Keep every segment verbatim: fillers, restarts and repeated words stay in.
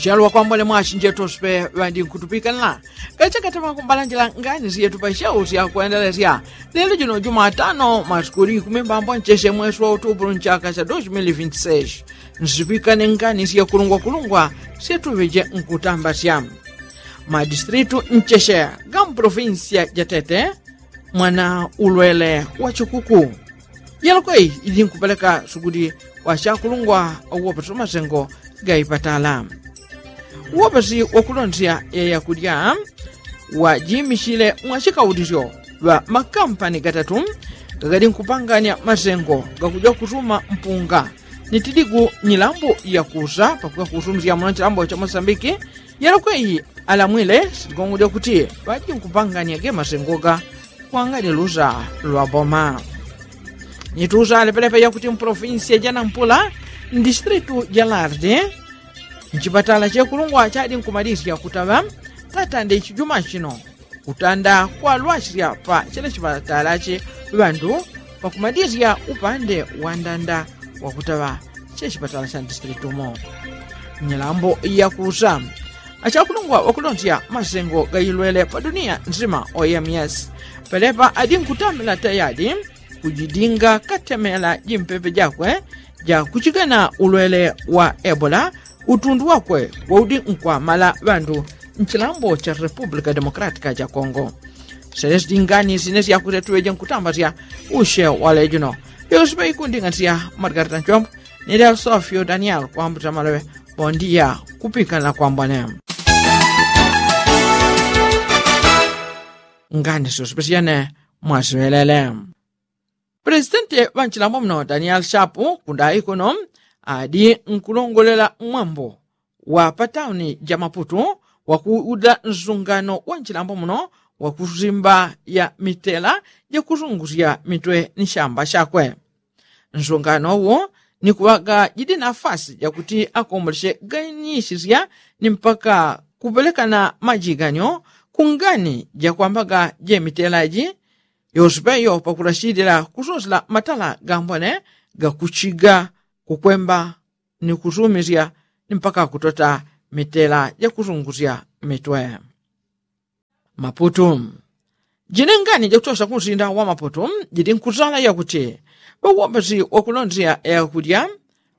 Chalo wakwambone mwachinjetu osipe ŵandinkutupikana. Kachakatama kumbalanjila ngani syetu pa shau sya kwendelesya lelo jino jumatano masiku likumi mbambo ncheshe mwesi wa utupulu nchaka sya dos mili vinti seis. Nsipikane ngani sya kulungwakulungwa syetuŵeje nkutambasya. Madistritu ncheshe ga mprovinsiya ja tete mwana ulwele wa chikuku. Yalokweyi ili nkupeleka sukuli wa chakulungwa uwopesa masengo ga ipatala. Uwopesi wakulondesya ya yakulya wajimichile mwa chikaulisyo ŵa makampani gatatu gagali nkupanganya masengo gakuja kusuma mpunga ni tiligu nyilambo yakusa pakuja kusumisya muno nchilambo cha mosambiki. Yalokweyi alamwile siligongo lyakuti ŵajinkupanganyaga masengoga kwangani lusa lwa boma. Nitusa alepelepe yakuti mpolofinsiya ja nampula mdistritu ja lardi nchipatala chekulungwa chadi nkumalisya kutaŵa tatande ichijuma chino kutanda kwalwasya pa chele chipatala chi ŵandu pakumalisya upande wa ndanda wakutaŵa chechipatala cha mdistritu mo. Nyilambo yakusa achakulungwa wakulondesya masengo gailwele pa duniya nzima oms pelepa adi nkutambila tayadi kujidinga katemela jimpepe jakwe jakuchigana ulwele wa ebola utundu wakwe waudi nkwamala ŵandu nchilambo cha republika demokratika cha kongo. Selesi dingani sine syakusetuŵeje nkutambasya ushe walejuno. Yosipe ikundinganisya margarita nchombo nilya sofyo daniel kwambuta maloŵe. Bondiya kupikana kwambone. Ngani sosopesiyene mwasiŵelele. Presidenti ŵa nchilambo muno daniel shapu kundayi kuno adi nkulongolela mwambo wa patauni ja maputu wakuuda nsungano wa nchilambo muno wakusimba ya mitela jakusungusya mitwe ni shamba shakwe. Nsungano uwo ni kuŵaga jidi nafasi jakuti akombolesye ganisisya ni mpaka kupelekana majiganyo kungani jakwambaga jemitela ji yosipeyo pakulashilila kusosela matala gambone gakuchiga kukwemba ni kusumisya ni mpaka kutota mitela jakusungusya mitwe. Maputu. Jinengani jakutosa kunsinda wa maputu jidi nkusala yakuti ŵawombesi wakulondesya yakulya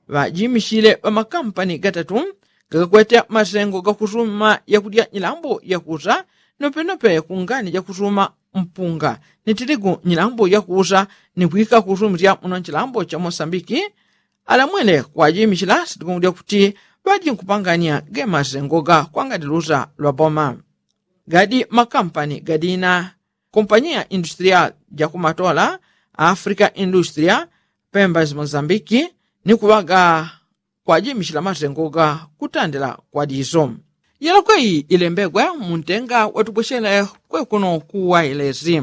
ŵajimichile ŵamakampani gatatu gagakwete masengo gakusuma yakulya nyilambo yakusa nopenope kungani jakusuma mpunga ni tiligu nyilambo yakusa ni kwika kusumisya muno nchilambo cha mosambiki. Alamwele kwajimichila sitikungu lyakuti ŵajinkupanganya gemasengo ga kwangani lusa lwa boma gadi makampani gadina kompanyiya industrial jakumatola africa industria pemba zimozambiki ni kuŵaga kwajimichila masengo ga kutandila kwa diso. Yalokweyi ilembegwe muntenga watubwechele kwekuno kuwailesi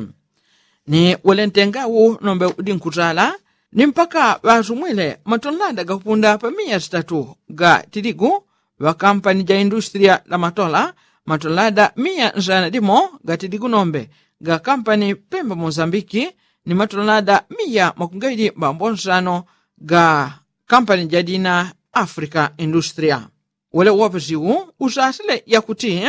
ni wele ntenga wu nombe udi nkutala ni mpaka ŵasumwile matonlanda gakupunda pa miya sitatu ga tiligu ŵakampani ja industriya la matola matonlanda miya nsana dimo ga tiligu nombe ga kampani pemba mozambiki ni matonlanda miya makungaili mbambo nsano ga kampani ja dina africa industriya. Wele uwapesi wu usasile yakuti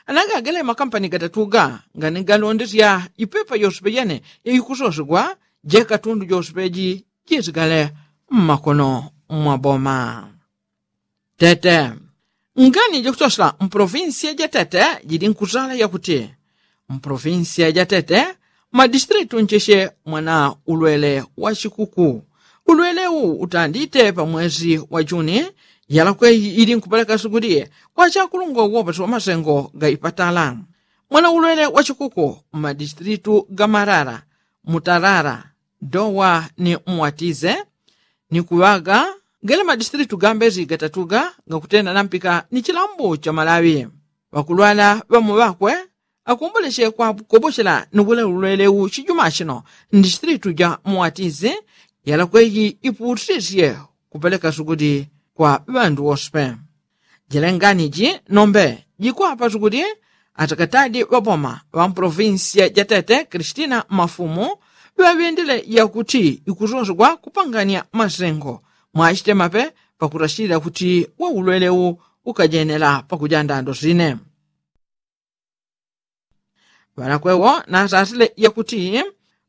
anagagele makampani gatatu ga ngani galondesya ipepa yosipe yene yaikusosegwa jekatundu josipe ji jisigale mmakono mwa boma. Tete ngani jakutosela mpolofinsiya ja tete jili nkusala yakuti mpolofinsiya ja tete madistritu ncheche mwana ulwele wa chikuku. Ulwele wu utandite pa mwezi wa juni yalakweyi ili nkupeleka sukuli kwa chakulungwa uwopesi wa masengo ga ipatala. Mwana ulwele wa chikuku mmadistritu ga marara, mutarara, dowa ni mwatize ni kuŵaga gele madistritu gambezi gatatuga gakutenda nampika ni chilambo cha malawi. Ŵakulwala ŵamo ŵakwe akomboleche kwakobochela ni wule ulwele wu chijuma chino mdistritu ja muwatizi yalakweyi iputisye kupeleka sukuli kwa ŵandu woswe. Jilengani ji nombe jikwapa sukuli atakatadi ŵaboma ŵa mprovinsiya ja tete kristina mafumu ŵaŵendele yakuti ikusosegwa kupanganya masengo mwachitemape pakutachilila kuti waulwele wu ukajenela pakuja ndando sine. Ŵalakwewo nasasile yakuti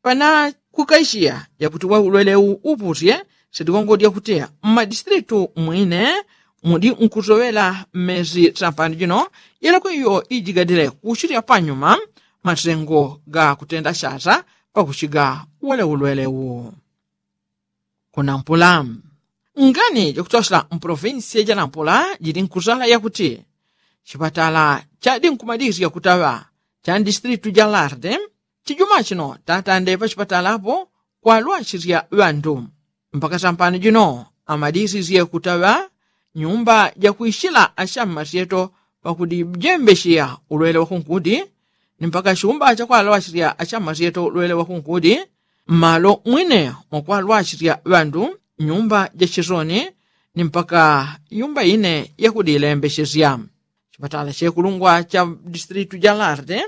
ŵanakukaishiya yakuti waulwele upusye sitigongo lyakuti mmadistritu mwine mudi nkusoŵela mmesi sampani jino yelakwe iyo ijigadile kushilya panyuma masengo ga kutenda shasa pakushiga wele ulwele u. Kunampula ngani jakutosela mpolofinsiya janampula jili nkusala yakuti chipatala chadi nkumadisya kutaŵa cha ndistritu ja larde chijuma chino tatande pachipatala apo kwalwasisya ŵandu mpaka sampano jino amadisisye kutaŵa nyumba jakwisila ashammasyeto pakudijembesheya ulwele wakunkudi ni mpaka chumba chakwalwasisya ashammasyeto ulwele wakunkudi mmalo mwine mwakwalwasisya ŵandu nyumba jachisoni ni mpaka nyumba ine yakudilembeshesya. Chipatala chekulungwa cha distritu ja larde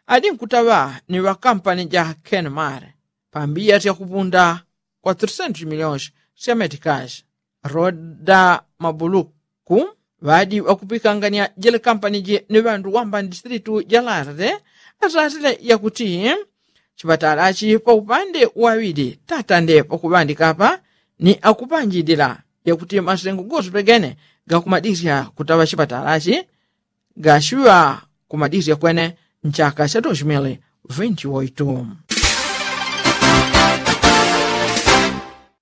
adi nkutaŵa ni ŵakampani ja kenmar pambiya syakupunda kwa three hundred miliyoni sya metikashi. Roda mabuluku ŵadi ŵakupikangania jele kampani ji ni ŵandu wamba ndistritu ja larde asasile yakuti chipatalachi paupande waŵidi tatande pakuŵandika apa ni akupanjidila yakuti masengo gosupegene gakumadisya kutaŵa chipatalachi gashiŵa kumadisya kwene nchaka cha dos mil vinti oitu.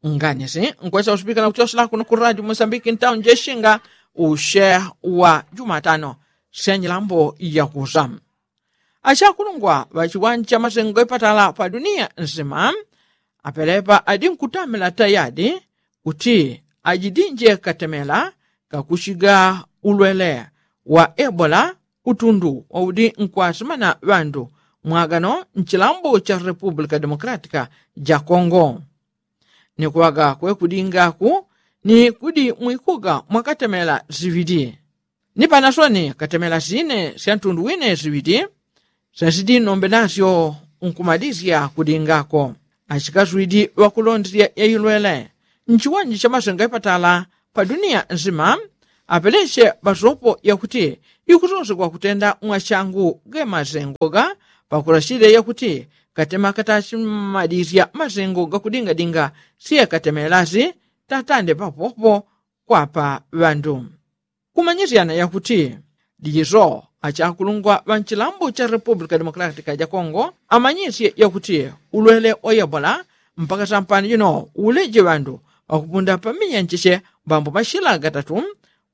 Nganisi nkwesa usupikana kuchosela kuno ku radio mosambiki ntauni jeshinga ushe wa jumatano sya nyilambo yakusa. Achakulungwa ŵachiwanja masengo ipatala pa duniya nsima apelepa adi nkutamela tayadi kuti ajidinje katemela kakushiga ulwele wa ebola utundu waudi nkwasimana ŵandu mwagano nchilambo cha repupulika demokratika ja kongo. Ni kuŵaga kwekudingaku ni kudi mwikuga mwakatemela siŵidi ni panasoni katemela sine sya ntundu wine siŵidi syasidi nombe nasyo nkumadisya kudingako. Achikaswidi ŵakulondesya yailwele nchiwanja cha masengo ipatala pa duniya nsima apelesye ŵasopo yakuti ikusosegwa kutenda mwachangu ge masengo ga pakulashile yakuti katema katachimadisya masengo gakudingadinga siye katemelasi tatande papopo kwapa ŵandu. Kumanyisyana yakuti dijiso achakulungwa ŵa nchilambo cha repupulika demokratika ja kongo amanyisye yakuti ulwele wa ebola mpaka sampani jino uleje ŵandu ŵakupunda pamiya ncheche mbambo mashila gatatu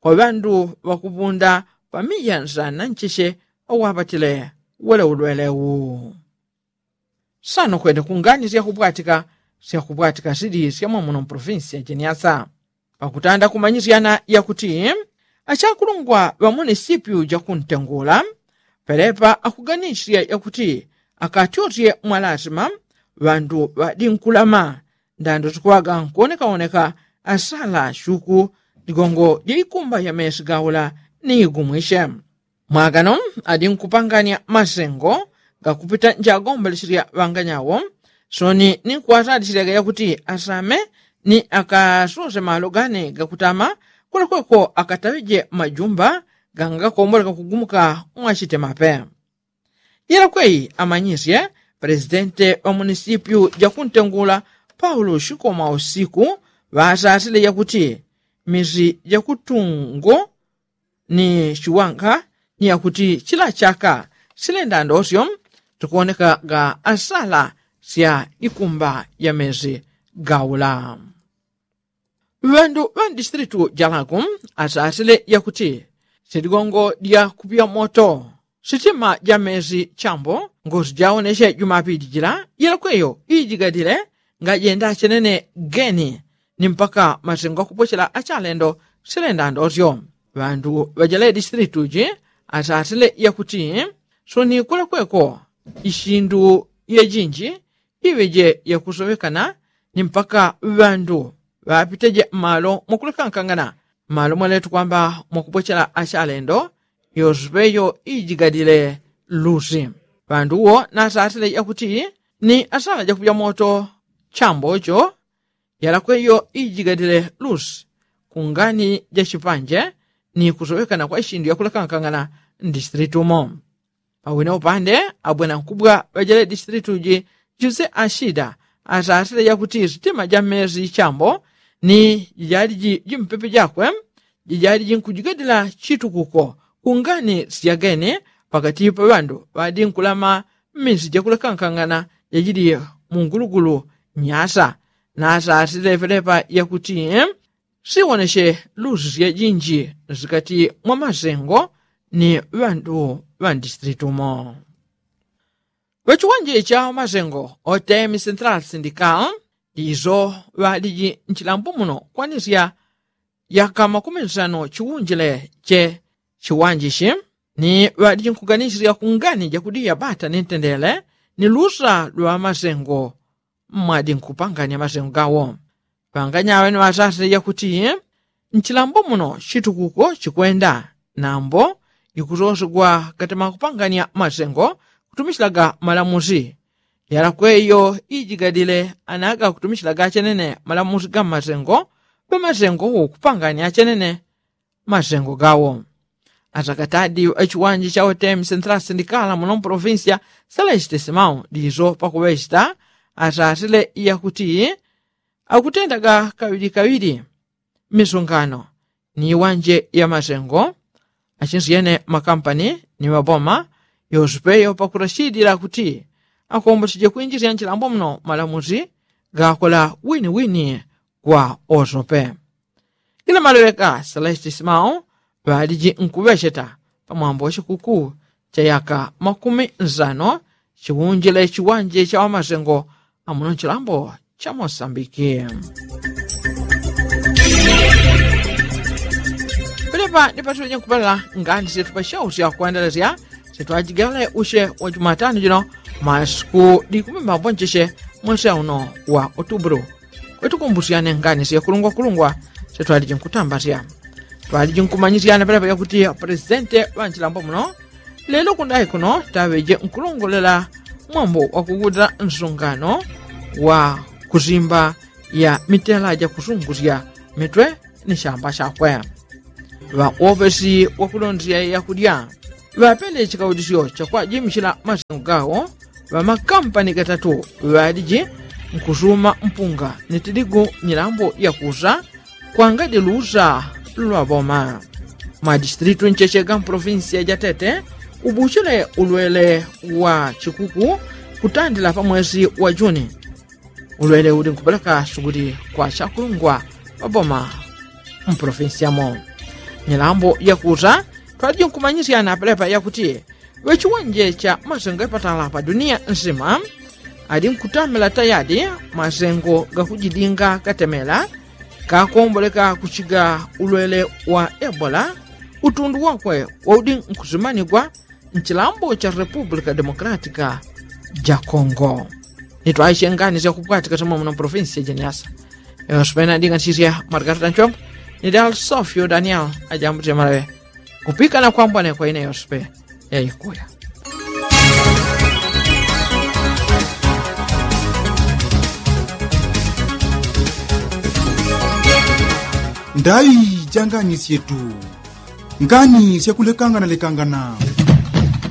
kwa ŵandu ŵakupunda pamiya nsana ncheche awapatile wele ulwele u. Sano kwene kungani syakupwatika syakupwatika sidi syamwamuno mpolofinsi ya jeniasa. Pakutanda kumanyisyana yakuti achakulungwa ŵa munisipyu jakuntengula pelepa akuganisya yakuti akatyosye mwalasima ŵandu ŵadinkulama ndando zikuŵaga nkuonekaoneka asala shuku ligongo jaikumba ya mesi gaula ni igumwishe. Mwagano adi nkupangania masengo gakupita njagombelesilya ŵanganyawo soni ni nkuwasalisyaga yakuti asame ni akasose malo gane gakutama kulekweko akataŵije majumba gangakomboleka kugumuka mwachitemape. Yelakweyi amanyisye presidente ŵa munisipyu jakuntengula paulo shikoma usiku ŵasasile yakuti misi jakutungo ni chiwanga ni yakuti chila chaka silenda ndosyo tikuoneka ga asala sya ikumba ya mezi gaula. Ŵandu ŵa mdistritu jalaku asasile yakuti siligongo lya kupya moto sitima ja mezi chambo ngosi jaonesye jumapili jila yelakweyo ijigadile ngajenda chenene geni ni mpaka masengo akupochela achalendo silenda ndosyo. Ŵandu ŵajele distritu ji asasile yakuti soni kulekweko ishindu yejinji iŵeje yakusowekana ni mpaka ŵandu ŵapiteje mmalo mwakulekankangana mmalo mwaletu kwamba mwakupochela achalendo yosepeyo ijigadile lusi. Ŵandu uwo nasasile yakuti ni asala jakupya moto chambo cho yalakweyo ijigadile lusi kungani ja chipanje ni kusowekana kwa ishindu yakulakankangana mdisitilitu umo. Pawina upande abwena nkubwa ŵajele disitilitu ji juse ashida asasile yakuti sitima ja mmezi chambo ni jijali ji jimpepe jakwe jijali jinkujigadila chitukuko kungani syagene pakati pa ŵandu ŵadinkulama mmezi jakulakankangana jajili mungulugulu nyasa. Nasasile pelepa yakuti siwoneshe luzi syajinji nsikati mwa masengo ni ŵandu ŵa mdisitilitu umo. Ŵachiwanje cha masengo otemi central sindical ndizo ŵaliji nchilambo muno kwanisya yaka makumi nsano chiwunjile che chiwanjishi ni ŵaliji nkuganisisya kungani jakudiya bata ni ntendele ni lusa lwa masengo mmwadi nkupanganya masengo gawo. Ŵanganyaŵe ni ŵasasile yakuti nchilambo muno chitukuko chikwenda nambo ikusosegwa katema kupanganya masengo kutumishilaga malamusi yalakweyo ijigadile anaga kutumishilaga achenene malamusi ga mmasengo. Ŵamasengo wokupanganya achenene masengo gawo. Asakatadi ŵachiwanje cha otemi central sindikala muno mprovincia selesite simau ndizo pakuŵechita asasile yakuti akutendaga kaŵilikawili misungano ni iwanje ya masengo achinsyene makampani ni maboma yospeyo pakurashidila kuti akomboseje kwinjisya nchilambo muno malamusi gakola winiwini kwa osope. Ila maleweka selesite simau ŵaliji nkuŵecheta pamwambo wa chikuku cha yaka makumi nsano chiwunjile chiwanje cha ŵamasengo amuno nchilambo cha mosambiki. Pelepa ndipatiŵeje nkupelela ngani syetu pashausya kwendelesya syetu ajigale usye wa jumatano jino masiku dikumimba mbonjesye mwese uno wa otubulu. Kwetukumbusyane ngani syekulungwakulungwa sye twaliji nkutambasya twaliji nkumanyisyana pelepa yakuti presidente ŵanchilambo muno lelo kundayi kuno taŵeje nkulongolela mwambo wakugudila nsungano wa kusimba ya mitela jakusungusya mitwe ni shamba shakwe. Ŵa uopesi wakulondesya yakudya ŵapele chikaudisyo chakwajimishila masengo gawo. Ŵamakampani gatatu ŵaliji nkusuma mpunga ni tiligu milambo yakusa kwangadi lusa lwa ŵoma. Mwadisitilitu ncheche ga mprovinsiya ja tete ubuchile ulwele wa chikuku kutandila pa mwesi wa juni. Ulwele uli nkupeleka suguli kwa chakulungwa ŵaboma mpolofinsi yamo. Nyalambo yakusa twaliji nkumanyisyana pelepa yakuti ŵechiwanje cha masengo yapatala pa duniya nsima ali nkutamela tayadi masengo gakujidinga katemela kakomboleka kuchiga ulwele wa ebola. Utundu wakwe waudi nkusimanigwa nchilambo cha republika demokratika ja kongo. Nitwaishe ngani syakupwatika soma muno mpolofinsi ya jeniasa. Yosupena ndinga nchisya margarita nchombo ni dal sofio daniel ajambuti malawe. Kupikana kwambwane kwa ine yosupe yaikuya. Ndai ja ngani syetu. Ngani syakulekangana lekangana.